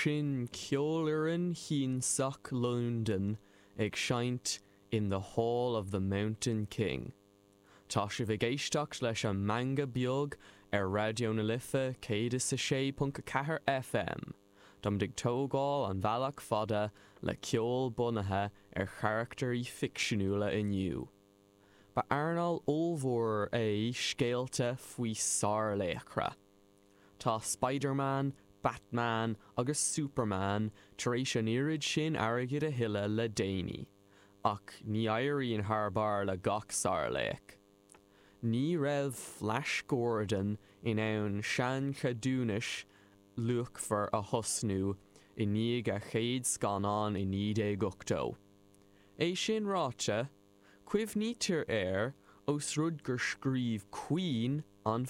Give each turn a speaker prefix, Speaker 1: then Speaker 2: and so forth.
Speaker 1: Sin Ceolfhoireann Shiansach Londan ag seinnt In the Hall of the Mountain King. Tá sibh ag éisteacht leis an Meangadh Beag ar Raidió na Life 106.4 FM. Táimid ag tógáil an bhealach fada le ceol bunaithe ar charachtairí ficseanúla inniu. Ba earnáil ollmhór é scéalta faoi sárlaochra. Tá Spider-Man, Batman agus Superman tar éis an oiread sin airgid a thuilleadh le déanaí, ach ní éiríonn thar barr le gach sárlaoch. Ní raibh Flash Gordon in ann seancheadúnas luachmhar a thosnú i ndiaidh a chéad scannán i 1980. É sin ráite, cuimhnítear air ós rud gur scríobh Queen an.